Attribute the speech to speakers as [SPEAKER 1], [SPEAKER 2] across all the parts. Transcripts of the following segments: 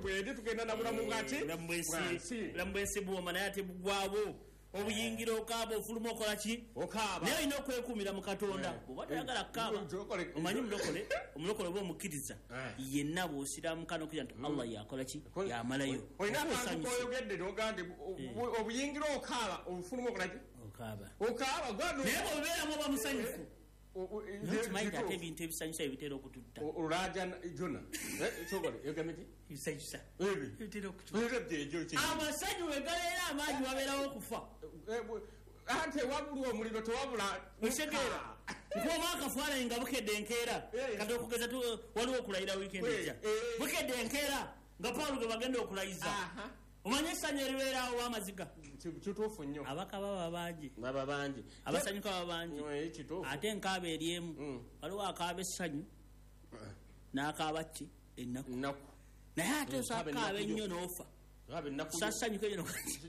[SPEAKER 1] Bwedi tugenda na bulamu bwaki
[SPEAKER 2] bulamu bwensi buwoma, naye ate bugwawo. Obuyingira okaaba, ofuluma okola ki?
[SPEAKER 1] Okaaba.
[SPEAKER 2] Naye olina okwekuumira mu Katonda. Bw'oba toyagala kukaaba, omanyi omulokole, omulokole oba omukkiriza yenna, bw'osiramuka n'okkiriza nti Allah yakola ki, yamalayo.
[SPEAKER 1] Olina
[SPEAKER 2] Oba
[SPEAKER 1] akantu
[SPEAKER 2] osanyuse.
[SPEAKER 1] Koyogedde nogaa nti obuyingira okaaba, ofuluma okola ki?
[SPEAKER 2] Okaaba.
[SPEAKER 1] Okaaba.
[SPEAKER 2] Naye bw'obeeramu oba musanyufu, naye okimanyi nti ate ebintu ebisanyusa ebitera okututta.
[SPEAKER 1] Olulaja jona sogole yogambe ki?
[SPEAKER 2] Ebisanyusa
[SPEAKER 1] Ebi.
[SPEAKER 2] ebitera okututta.
[SPEAKER 1] Ebyo gye.
[SPEAKER 2] Amasanyu we gabeera amangi, wabeerawo okufa.
[SPEAKER 1] Ate wabula omuliro tewabula.
[SPEAKER 2] Okitegeera nkuoba akafaananyi nga bukedde enkeera. Kati okugeza waliwo okulayira wiikendi ejja. Bukedde enkeera nga Pawulo ge bagenda okulayiza, omanye essanyu eribeeraawo w'amaziga.
[SPEAKER 1] Kituufu nnyo.
[SPEAKER 2] Abaka baba bangi.
[SPEAKER 1] Baba bangi.
[SPEAKER 2] Abasanyuka baba bangi.
[SPEAKER 1] Kituufu.
[SPEAKER 2] Ate enkaaba eri emu. Waliwo akaaba essanyu n'akaaba ki? Ennaku.
[SPEAKER 1] Nnaku.
[SPEAKER 2] Naye ate
[SPEAKER 1] Kaaba
[SPEAKER 2] osakaaba
[SPEAKER 1] ennaku.
[SPEAKER 2] ennyo n'ofa.
[SPEAKER 1] Kaaba ennaku.
[SPEAKER 2] Sasanyuka ennyo.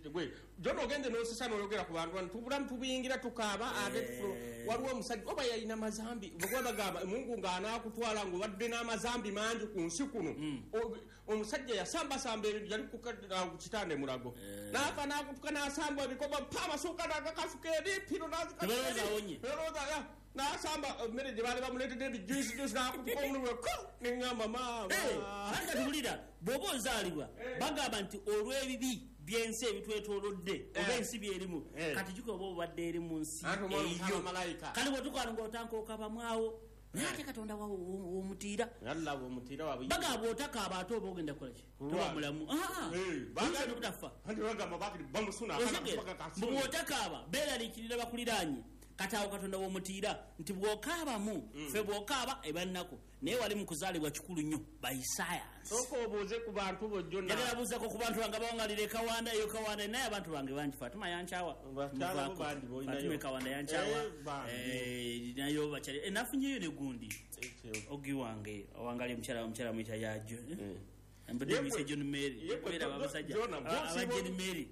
[SPEAKER 1] Gwe jona ogenze n'osesa n'oyogera ku bantu bano, tubulamu tubuyingira tukaaba ate waliwo omusajja oba yalina mazambi, bwe bagamba Mungu ng'anaakutwala ng'obadde n'amazambi mangi ku nsi kuno. Omusajja yasambasamba ebintu, yali ku kitanda e Mulago, n'afa n'akutuka n'asamba ebikoba pa amasuuka n'agakasuka eri piro.
[SPEAKER 2] Tebalowooza awonye.
[SPEAKER 1] N'asamba emmere gye baali bamuleetedde, ebijuisi juisi, n'akutuka omululu ko neŋŋamba maama.
[SPEAKER 2] Anti kati bw'oba ozaalibwa, bagamba nti olw'ebibi by'ensi ebitwetoolodde oba ensi byerimu, kati jjuka oba obadde eri mu nsi
[SPEAKER 1] Anti omwana
[SPEAKER 2] eyo.
[SPEAKER 1] omutaba malayika.
[SPEAKER 2] Kale bwetukaano ng'otanka okabamwawo, naye ate Katonda w'omutiira.
[SPEAKER 1] Yalla omutiira waabwe.
[SPEAKER 2] Bagamba bw'otakaaba ate oba ogenda kukola ki? Toba mulamu. Oyinza n'obutafa.
[SPEAKER 1] Anti bagamba bakiri bamusuna.
[SPEAKER 2] Otegeera? Bw'otakaaba beeraliikirira bakuliraanye. Kati awo Katonda w'omutiira nti bw'okaabamu, ffe bw'okaaba eba nnaku, naye wali mu kuzaalibwa kikulu nnyo by science.
[SPEAKER 1] Sooka obuuze ku bantu bo jona.
[SPEAKER 2] Njagala buuzako ku bantu bange abawangalira ekawanda eyo. Kawanda, naye abantu bange bangi. Fatuma yankyawa.
[SPEAKER 1] Bakyala bo
[SPEAKER 2] Muvaako.
[SPEAKER 1] bangi b'olinayo.
[SPEAKER 2] Fatuma ekawanda yankyawa.
[SPEAKER 1] Bangi.
[SPEAKER 2] Nayo bakyali. Nafunyeyo ne gundi ogi wange awangali, omukyala mwita yajo, mbadde muyise John Mary. Beera abasajja
[SPEAKER 1] Jona,
[SPEAKER 2] aba John Mary.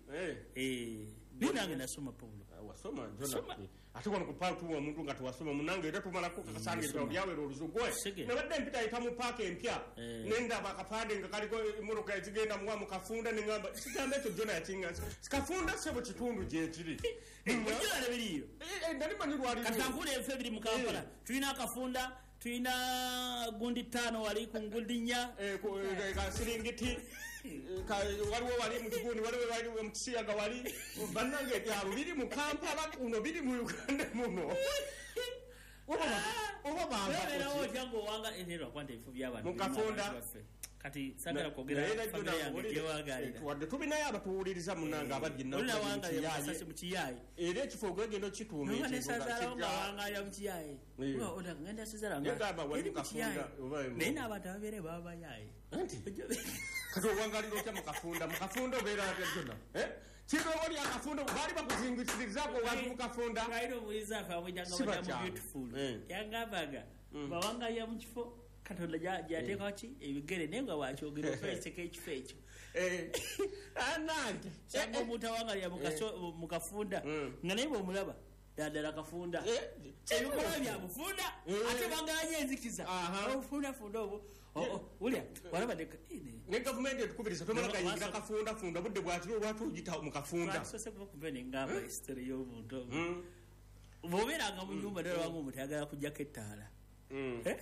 [SPEAKER 2] Naye nange nasoma, Paulo.
[SPEAKER 1] Wasoma jona?
[SPEAKER 2] Soma.
[SPEAKER 1] Ate wano ku paaka tuwa omuntu nga tewasoma munange, era tumalako kakasanga ebitabo byawera oluzugwe.
[SPEAKER 2] Sige.
[SPEAKER 1] Nabadde mpita ayita mu paaka empya, nendaba akapande nga kaliko emmotoka ezigenda muwa mu Kafunda, neŋamba kigambo ekyo jona yakinga Kafunda sebo kitundu gyekiri.
[SPEAKER 2] Bulijjo biriyo.
[SPEAKER 1] Nali manyi lwali.
[SPEAKER 2] Kati kankula ebifo ebiri mu Kampala. Tulina Akafunda, tulina gundi ttaano wali ku ngundi nnya.
[SPEAKER 1] Kasiringiti waliwo wali mu kigundi, waliwo wali mu kisiyaga, wali bannange ebyalo biri mu Kampala kuno, biri mu Uganda muno. Oba
[SPEAKER 2] Beerawo
[SPEAKER 1] bamba
[SPEAKER 2] otya ngaowanga era lwakuba nti ebifo by'abantu
[SPEAKER 1] Mu
[SPEAKER 2] birimu abantu
[SPEAKER 1] Kafunda.
[SPEAKER 2] baffe. Kati sagala kwogera famire yange gyewangalira.
[SPEAKER 1] Wadde tulinayo abatuwuliriza munange abajja.
[SPEAKER 2] Olinawangalira mukasasi mu kiyayi.
[SPEAKER 1] Era ekifo ogenda okituuma.
[SPEAKER 2] Noba nesazaalawo nga wangalira mu kiyayi. Ngenda sezala nga
[SPEAKER 1] Yagamba wali
[SPEAKER 2] eri
[SPEAKER 1] mu
[SPEAKER 2] mu kiyayi.
[SPEAKER 1] Kafunda, oba
[SPEAKER 2] Naye n'abantu ababeere baba bayayi.
[SPEAKER 1] Anti kati owangalira otya mu Kafunda? Mu Kafunda obeera atya jona? Kino oli akafunda baali bakuzingitirizaako wantu mu Kafunda.
[SPEAKER 2] Alina obuliza afe amwitanga
[SPEAKER 1] Si
[SPEAKER 2] batamu
[SPEAKER 1] bakyamu.
[SPEAKER 2] Beautiful. Yangambaga bawangalira mu kifo Katonda gyateekawo ki ebigere, naye nga wakyogera okweseka ekifo ekyo.
[SPEAKER 1] Anange.
[SPEAKER 2] Sanga omuntu awangalira mu Kafunda nga naye bwomulaba ddala Kafunda, ebikolwa bya bufunda. Ate baganye enzikiza. Obufundafunda obwo. Wulya walaba
[SPEAKER 1] Ne gavumenti etukubiriza tomala gayingira Kafunda funda budde bwakiro, lwaki ogita mu Kafunda?
[SPEAKER 2] Lwakisose kuba kuva nengamba history y'omuntu ogwo. Bw'obeeranga mu nyumba nolabanga omuntu ayagala kujjako ettaala. Eh?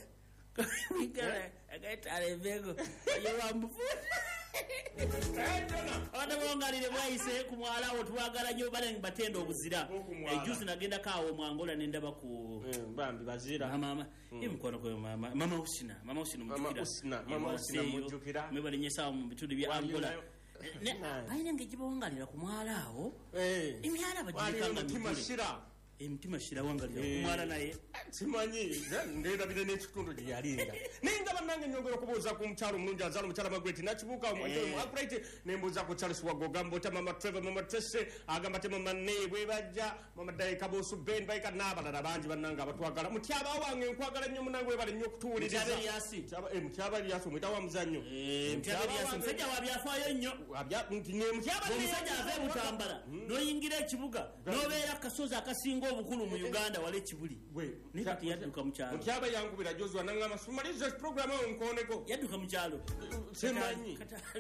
[SPEAKER 2] Ettaala eveeko yewambufunda. Abantu bongalire bwayise ku mwala awo, twagala nnyo bale batenda obuzira.
[SPEAKER 1] Bw'oku mwala.
[SPEAKER 2] Ejuzi nagendako awo mu Angola nendaba ku
[SPEAKER 1] Bambi bazira.
[SPEAKER 2] Mama, ye mukwano gwe mama, mama Usina, mama Usina.
[SPEAKER 1] Mama
[SPEAKER 2] Mujjukira?
[SPEAKER 1] Usina, mama Usina mujjukira.
[SPEAKER 2] Mwebalinyesawo mu bitundu bya
[SPEAKER 1] Waliyo
[SPEAKER 2] Angola.
[SPEAKER 1] Nayo.
[SPEAKER 2] Balina engeri gyebawangalira ku mwala awo. Emyala
[SPEAKER 1] Waliyo
[SPEAKER 2] bagireka nga
[SPEAKER 1] mutima
[SPEAKER 2] migule.
[SPEAKER 1] shira.
[SPEAKER 2] Emitima shira wangalira ku mwala naye.
[SPEAKER 1] Simanyi nderabire n'ekitundu gye yalinga, naye nga bannange nyongera okubuuza ku mukyalo omulungi azaala omukyala Magweti Nakibuuka Upright, nembuuza ku Charles Wago, ogamba otya mama Trevor, mama Trese, agamba te mama ne bwebajja mama Daika Bosu Ben Baika n'abalala bangi bannange abatwagala. Mutyaba wange nkwagala nnyo munange, webale nnyo okutuwuliriza.
[SPEAKER 2] Mutyaba Eliasi.
[SPEAKER 1] Mutyaba Eliasi omwita wa muzannyo.
[SPEAKER 2] Mutyaba Eliasi musajja wa byafaayo nnyo.
[SPEAKER 1] Nti ne mutyaba.
[SPEAKER 2] Omusajja ava e Butambala n'oyingira ekibuga n'obeera akasozi akasinga obukulu mu Uganda wala ekibuli, naye kati yadduka mu kyalo.
[SPEAKER 1] Mutyaba yankubira jozwa nangamba sumaliza programu awo nkoneko.
[SPEAKER 2] Yadduka mu kyalo.
[SPEAKER 1] Simanyi.
[SPEAKER 2] Kati